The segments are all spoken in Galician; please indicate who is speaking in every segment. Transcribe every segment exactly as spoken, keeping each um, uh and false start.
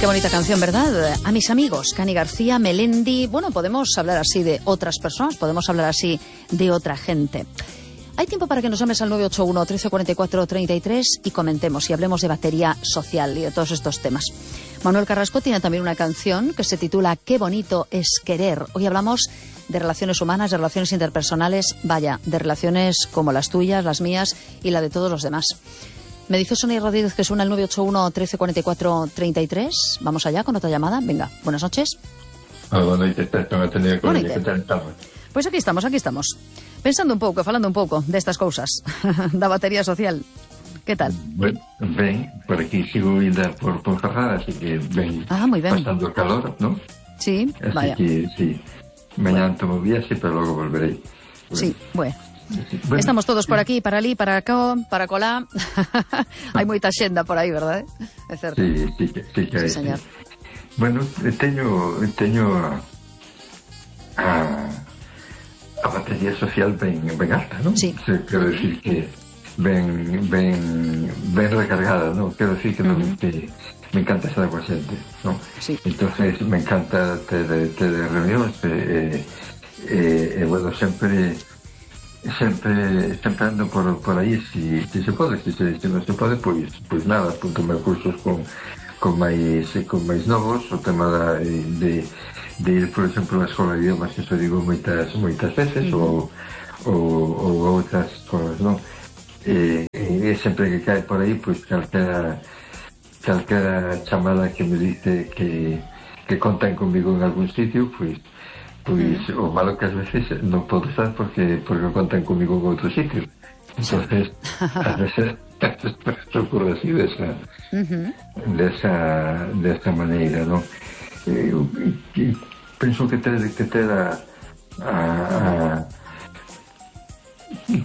Speaker 1: Qué bonita canción, ¿verdad? A mis amigos, Cani García, Melendi. Bueno, podemos hablar así de otras personas, podemos hablar así de otra gente. Hay tiempo para que nos llames al nueve ocho uno, trece cuarenta y cuatro, treinta y tres y comentemos y hablemos de batería social y de todos estos temas. Manuel Carrasco tiene también una canción que se titula Qué bonito es querer. Hoy hablamos de relaciones humanas, de relaciones interpersonales, vaya, de relaciones como las tuyas, las mías y la de todos los demás. Me dice Sonia Rodríguez que suena el nueve ocho uno, trece cuarenta y cuatro, treinta y tres. Vamos allá con otra llamada. Venga, buenas noches.
Speaker 2: Boa noite, que tal?
Speaker 1: Pois aquí estamos, aquí estamos. Pensando un pouco, falando un pouco destas cousas da batería social. Que tal?
Speaker 2: Bueno, ben, por aquí sigo ainda por Ponferrada, así que ben,
Speaker 1: ah, moi ben.
Speaker 2: pasando o calor, ¿no?
Speaker 1: Sí,
Speaker 2: así
Speaker 1: vaya.
Speaker 2: que, sí, mañana bueno. tomo viaxe, pero logo volverei.
Speaker 1: Bueno. Sí, bueno. Bueno, estamos todos por aquí, para ali, para cá, para colá. Hai moita xenda por aí, verdade? É certo.
Speaker 2: Sí, sí, sí, sí que hai.
Speaker 1: Sí, señor.
Speaker 2: Bueno, teño teño a, a, a batería social ben, ben alta, ¿no?
Speaker 1: Sí.
Speaker 2: Quero decir que ben ben ben recargada, ¿no? Quero decir que, uh-huh. non, que me encanta estar coa xente, ¿no?
Speaker 1: Sí.
Speaker 2: Entonces me encanta ter, ter reunións e, e, e, e bueno, sempre sempre sempre ando por, por aí si, si se pode, si, se, si non se pode, pois, pois nada, apunto meus cursos con, con máis con máis novos, o tema da, de, de ir, por exemplo, a escola de idiomas, que iso digo moitas moitas veces, uh-huh. ou, ou, ou outras cosas, non? E, e sempre que cae por aí, pois calquera calquera chamada que me dice que, que contan comigo en algún sitio, pois Pois o malo que ás veces non podo estar porque porque contan comigo en outro sitio. Entonces, ás veces se ocurre así desa uh-huh. desa desa maneira, non? Eu, eu penso que ter que ter a, a, a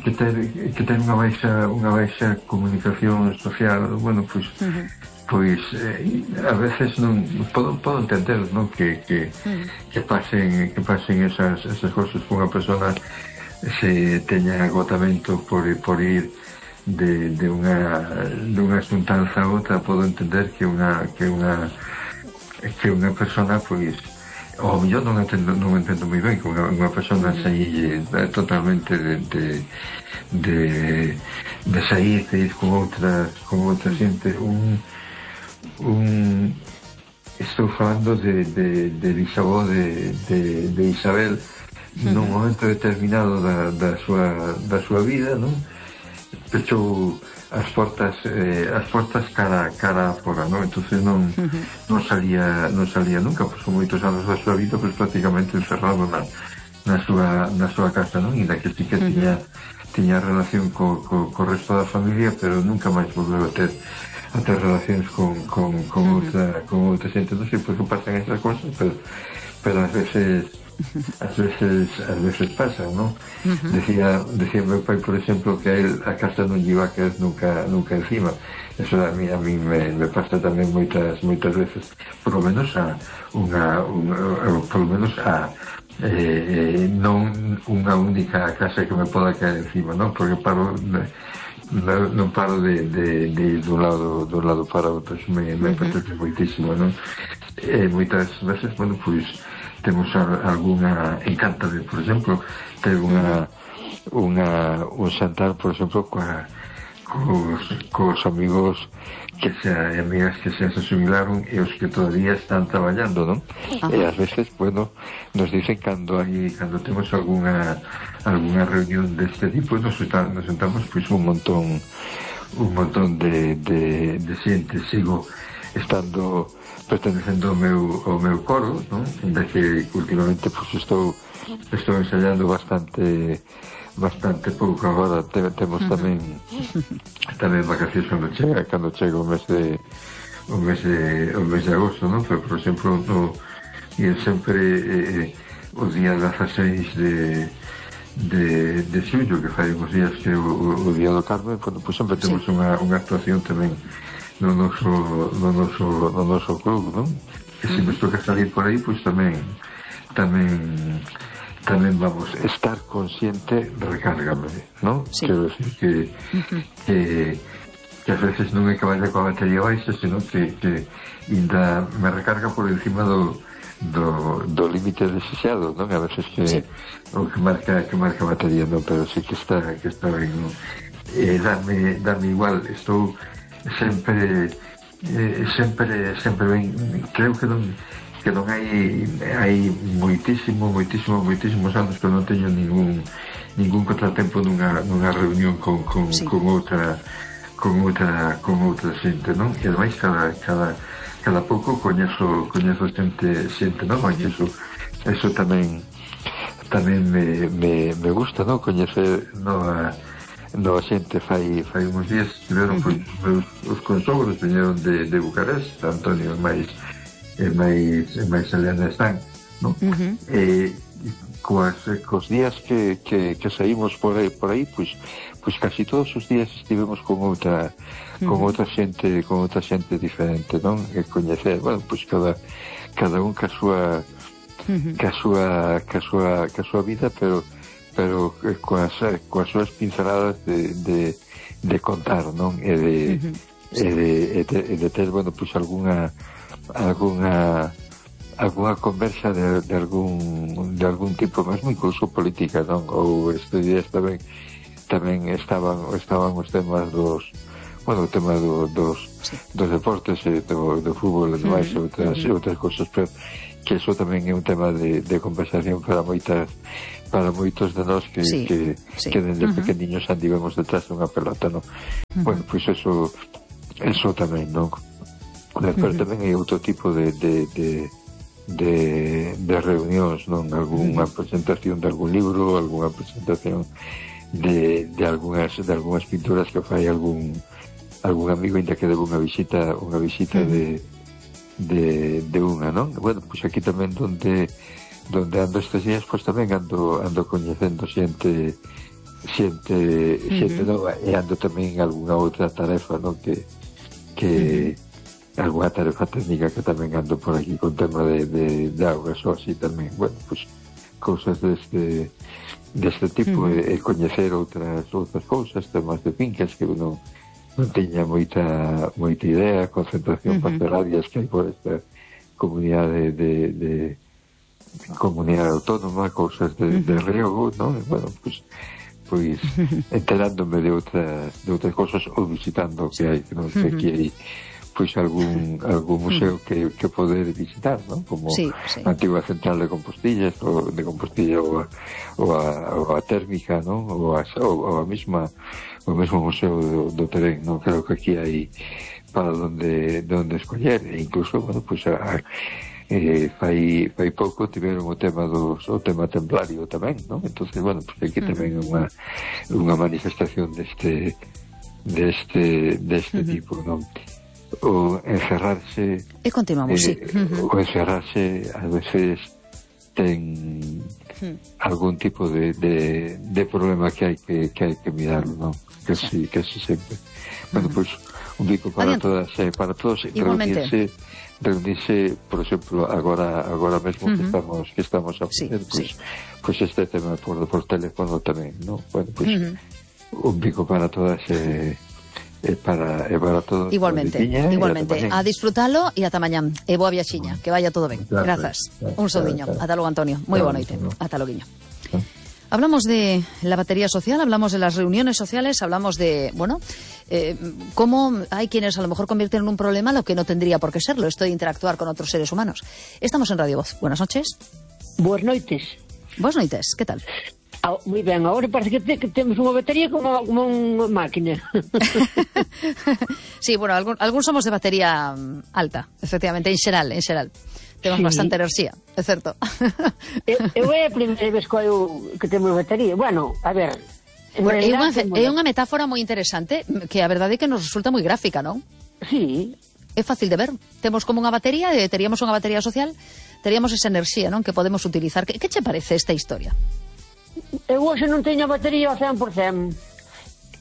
Speaker 2: que ter que ter unha baixa unha baixa comunicación social, bueno, pois uh-huh. pois eh, a veces non podo, podo entender, non, que que, mm. que pasen que pasen esas esas cousas con unha persona se teña agotamento por por ir de de unha de unha xuntanza a outra. Podo entender que unha que unha que unha persona pois ao mellor non entendo non entendo moi ben que unha, unha persona mm. saílle totalmente de de de de sair de ir con outras con outra xente un un estou falando de, de, de bisavó de, de, de Isabel uh-huh. nun momento determinado da, da, súa, da súa vida, non? Pechou as portas eh, as portas cara cara fora, non? Entonces non uh-huh. non salía non salía nunca, pois son moitos anos da súa vida pois prácticamente encerrado na, na súa na súa casa, non? E da que sí que uh-huh. tiña tiña relación co, co, co resto da familia, pero nunca máis volveu a ter a ter relacións con, con, con, uh-huh. outra, con outra xente. Non sei por que pasan esas cosas, pero, pero ás veces ás veces ás veces pasan, non? Uh-huh. Decía, decía meu pai, por exemplo, que a él a casa non lle iba a caer nunca, nunca encima. Eso a mí, a mí me, me pasa tamén moitas moitas veces, por lo menos a unha, unha por lo menos a eh, non unha única casa que me poda caer encima, non? Porque paro Non, non paro de, de, de ir dun lado dun lado para outro, me, me uh-huh. apetece moitísimo, non? E moitas veces, bueno, pois temos a, alguna encanta de, por exemplo, ter unha unha un xantar, por exemplo, coa, cos, cos amigos que xa, e amigas que xa se jubilaron e os que todavía están traballando, non? Uh-huh. E ás veces, bueno, nos dicen cando hai, cando temos alguna alguna reunión deste tipo, nos, está, nos sentamos pois un montón un montón de, de, de xente. Sigo estando pertenecendo ao meu, ao meu coro, non? Ainda que últimamente pois estou estou ensayando bastante bastante pouco agora. Temos tamén tamén vacacións cando chega cando chega o mes de o mes de, o mes de agosto, non? Pero, por exemplo, no, e sempre eh, o día dezaseis de de, de xullo, que fai uns días que o, o, o día do Carmen, bueno, pues sempre temos sí. unha, unha actuación tamén no noso, no noso, no noso club, non? Que se nos toca salir por aí, pois pues tamén tamén tamén vamos, estar consciente recárgame, non? Sí. Quero decir que, uh-huh. que que ás veces non é que vaya coa batería baixa, sino que, que ainda me recarga por encima do do, do límite desexado, non? A veces que sí. o que marca que marca a batería, non, pero sí que está que está ben, non? Eh, dame, dame igual, estou sempre eh, sempre sempre ben, creo que non que non hai hai moitísimo, moitísimo, moitísimos anos que non teño ningún ningún contratempo nunha, nunha reunión con, con, sí. con outra con outra con outra xente, non? E ademais cada, cada cada pouco coñezo coñezo xente xente nova, e iso eso tamén tamén me, me, me gusta, non? Coñecer nova nova xente. Fai fai uns días estiveron uh-huh. os, os consogros viñeron de, de Bucarest, Antonio e máis e máis e máis Eliana están, non? Uh-huh. E coas, cos días que, que, que saímos por aí, por aí pois, pois casi todos os días estivemos con outra con uh-huh. outra xente con outra xente diferente, non? E coñecer, bueno, pois cada cada un ca súa uh-huh. ca súa ca súa ca súa vida, pero pero coas coas súas pinceladas de, de, de contar, non? E de, uh-huh. e de, e de, e de ter, bueno, pois algunha algunha algunha conversa de, de algún de algún tipo, mesmo incluso política, non? Ou estes días tamén tamén estaban estaban os temas dos, bueno, o tema do, dos sí. dos deportes e do, do fútbol e demais, mm-hmm. outras, mm-hmm. outras cosas, pero que eso tamén é un tema de, de conversación para moitas para moitos de nós que, sí. que, sí. que desde uh-huh. pequeniños andivemos detrás dunha pelota, non? Uh-huh. Bueno, pois pues eso eso tamén, non? Pero uh-huh. tamén hai outro tipo de de, de de, de reunións, non? Algúnha uh-huh. presentación de algún libro, algunha presentación de, de algunhas de algunhas pinturas que fai algún algún amigo, ainda que debe unha visita unha visita uh-huh. de, de de unha, non? Bueno, pois pues aquí tamén donde donde ando estes días, pois pues tamén ando ando coñecendo xente xente uh-huh. xente nova, e ando tamén en algunha outra tarefa, non? Que que uh-huh. algunha tarefa técnica que tamén ando por aquí con tema de, de, de augas ou así tamén, bueno, pois pues, cousas deste deste tipo, uh-huh. e, e coñecer outras outras cousas, temas de fincas que uno non teña moita moita idea, concentración uh-huh. pastorarias que hai por esta comunidade de, de comunidade autónoma, cousas de, uh-huh. de riego, non? E, bueno, pois pois enterándome de outras de outras cousas ou visitando o que hai, que non sei, uh-huh. que hai pois algún algún museo que, que poder visitar, non? Como sí, sí. a antigua central de Compostillas ou de Compostilla ou a, ou a, ou a térmica, non? Ou a, ou a mesma o mesmo museo do, do Terén, non? Creo que aquí hai para donde donde escoller, e incluso, bueno, pois a, a, eh, fai fai pouco tiveron o tema dos o tema templario tamén, non? Entonces, bueno, pois aquí tamén é unha unha manifestación deste deste deste uh-huh. tipo, non? O encerrarse
Speaker 1: e continuamos,
Speaker 2: eh,
Speaker 1: sí. Uh-huh.
Speaker 2: O encerrarse a veces ten uh-huh. algún tipo de, de, de problema que hai que, que hai que mirar, non? Que sí, que sí sempre. Bueno, uh-huh. pois pues, un bico para Adiante. todas, eh, para todos reunirse, reunirse, por exemplo, agora agora mesmo uh-huh. que estamos que estamos a facer, sí, pois, sí. pois este tema por, por teléfono tamén, non? Bueno, pois pues, uh-huh. un bico para todas eh, E para, e para todos.
Speaker 1: Igualmente, igualmente. A disfrutalo e ata mañán. E boa viaxiña, que vaya todo ben. Grazas. Un saudiño. Ata logo, Antonio. Moi boa noite. Ata loguiño. Hablamos de la batería social, hablamos de las reuniones sociales, hablamos de, bueno, eh, cómo hay quienes a lo mejor convierten en un problema lo que no tendría por qué serlo, esto de interactuar con otros seres humanos. Estamos en Radio Voz. Buenas noches.
Speaker 3: Buenas noites.
Speaker 1: Buenas noites, ¿qué tal?
Speaker 3: Ah, moi ben, agora parece que, te, que temos unha batería como, como unha máquina.
Speaker 1: Sí, bueno, algún, algún somos de batería alta, efectivamente, en xeral, en xeral. Temos sí. bastante enerxía, é certo.
Speaker 3: Eu, eu é a primeira vez que, eu, que temos batería. Bueno, a ver...
Speaker 1: Bueno, é, unha, é unha metáfora moi interesante, que a verdade é que nos resulta moi gráfica, non?
Speaker 3: Sí.
Speaker 1: É fácil de ver. Temos como unha batería, e teríamos unha batería social, teríamos esa enerxía, non? Que podemos utilizar. Que, que che parece esta historia?
Speaker 3: Eu hoxe non teño a batería ao cen por cen.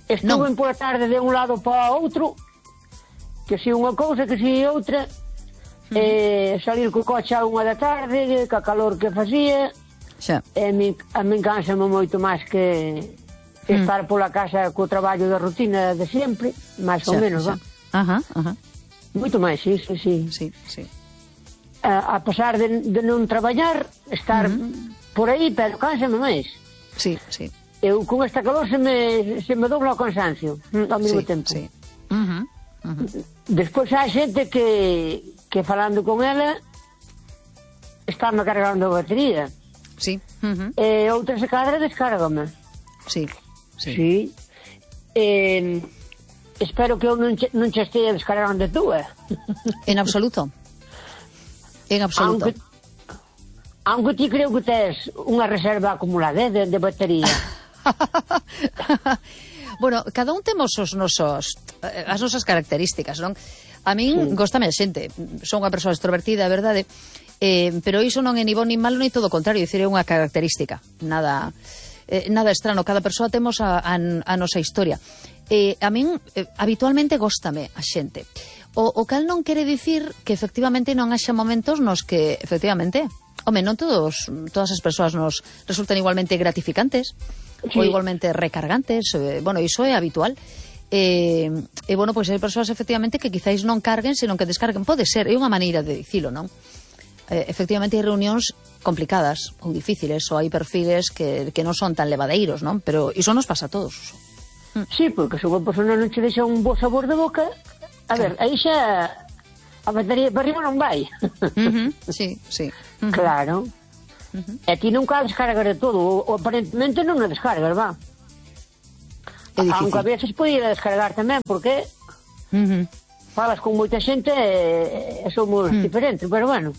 Speaker 3: Estuve non. por a tarde de un lado para outro, que si unha cousa, que si outra, mm. e salir co coche a unha da tarde, ca calor que facía, xa. E a min, a min cánsame moito máis que estar mm. pola casa co traballo da rutina de sempre, máis ou menos, va.
Speaker 1: Ajá, ajá.
Speaker 3: Moito máis, sí, sí, sí.
Speaker 1: Sí, sí.
Speaker 3: A, a pesar de, de non traballar, estar uh -huh. por aí, pero cánsame máis.
Speaker 1: Sí, sí.
Speaker 3: Eu con esta calor se me, se me dobla o cansancio ao mesmo
Speaker 1: sí,
Speaker 3: tempo.
Speaker 1: Sí. Uh -huh. Uh -huh.
Speaker 3: Despois hai xente que, que falando con ela estáme cargando a batería.
Speaker 1: Sí. Uh -huh.
Speaker 3: E outra se cadra descárgame.
Speaker 1: Sí. Sí.
Speaker 3: Sí. Eh, espero que eu non che, non che estea descargando a túa.
Speaker 1: En absoluto. En absoluto.
Speaker 3: Aunque, aunque ti creo que tes unha reserva acumulada de, de batería.
Speaker 1: Bueno, cada un temos os nosos, as nosas características, non? A min sí. Góstame a xente. Son unha persoa extrovertida, é verdade, eh, pero iso non é ni bon ni malo, ni todo o contrario, dicir, é unha característica. Nada... Eh, nada estrano, cada persoa temos a, a, a nosa historia. Eh, a min, eh, habitualmente, góstame a xente. O, o cal non quere dicir que, efectivamente, non haxa momentos nos que, efectivamente, home, non todos, todas as persoas nos resultan igualmente gratificantes, sí. ou igualmente recargantes, eh, bueno, iso é habitual. E, eh, eh, bueno, pois hai persoas, efectivamente, que quizáis non carguen, senón que descarguen. Pode ser, é unha maneira de dicilo, non? Eh, efectivamente, hai reunións complicadas ou difíciles, ou hai perfiles que, que non son tan levadeiros, non? Pero iso nos pasa a todos.
Speaker 3: Sí, porque se unha persona non che deixa un bo sabor de boca, a ver, aí xa a batería para arriba non vai.
Speaker 1: Uh -huh, sí, sí. Uh -huh.
Speaker 3: Claro. Uh -huh. E ti nunca a descargas de todo, ou, ou aparentemente non a descargas, va. É difícil. Aunque a veces podía descargar tamén, porque uh -huh. falas con moita xente e, e somos uh -huh. diferentes, pero bueno.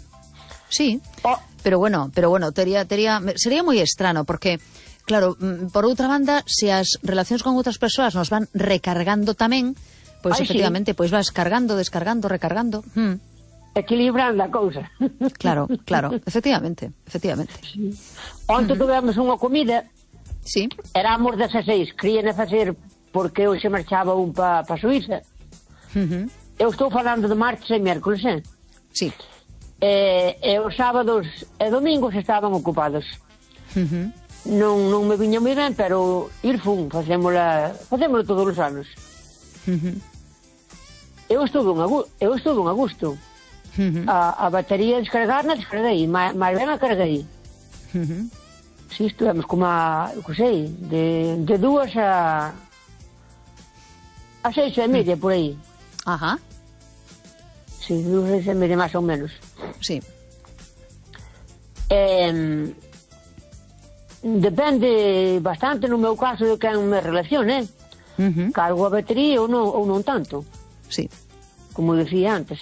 Speaker 1: Sí, oh. pero bueno, pero bueno, tería, tería, sería moi estrano, porque, claro, por outra banda, se as relacións con outras persoas nos van recargando tamén, pois pues, efectivamente, sí. pois pues vas cargando, descargando, recargando. Hmm.
Speaker 3: Equilibrando a cousa.
Speaker 1: Claro, claro, efectivamente, efectivamente.
Speaker 3: Sí. Onte uh -huh. tivemos unha comida,
Speaker 1: sí.
Speaker 3: éramos dezaseis, querían facer porque hoxe marchaba un pa, pa Suíza. Uh -huh. Eu estou falando de martes e miércoles, eh?
Speaker 1: Sí.
Speaker 3: E, e os sábados e domingos estaban ocupados.
Speaker 1: Uh -huh.
Speaker 3: non, non me viña moi ben, pero ir fun, facémola, facémola todos os anos.
Speaker 1: Uh -huh.
Speaker 3: Eu estuve un, eu estuve un a gusto. Uh -huh. a, a batería descargar na descarguei, máis ben a carguei.
Speaker 1: Uh -huh.
Speaker 3: Si, estuvemos como a, eu sei, de, de dúas a a seis e media, por aí.
Speaker 1: Ajá.
Speaker 3: Sí, dúas e media máis ou menos.
Speaker 1: Sí.
Speaker 3: Eh, depende bastante, no meu caso, de quen me relacione, eh? Uh -huh. Cargo a batería ou non, ou non tanto.
Speaker 1: Sí.
Speaker 3: Como dicía antes.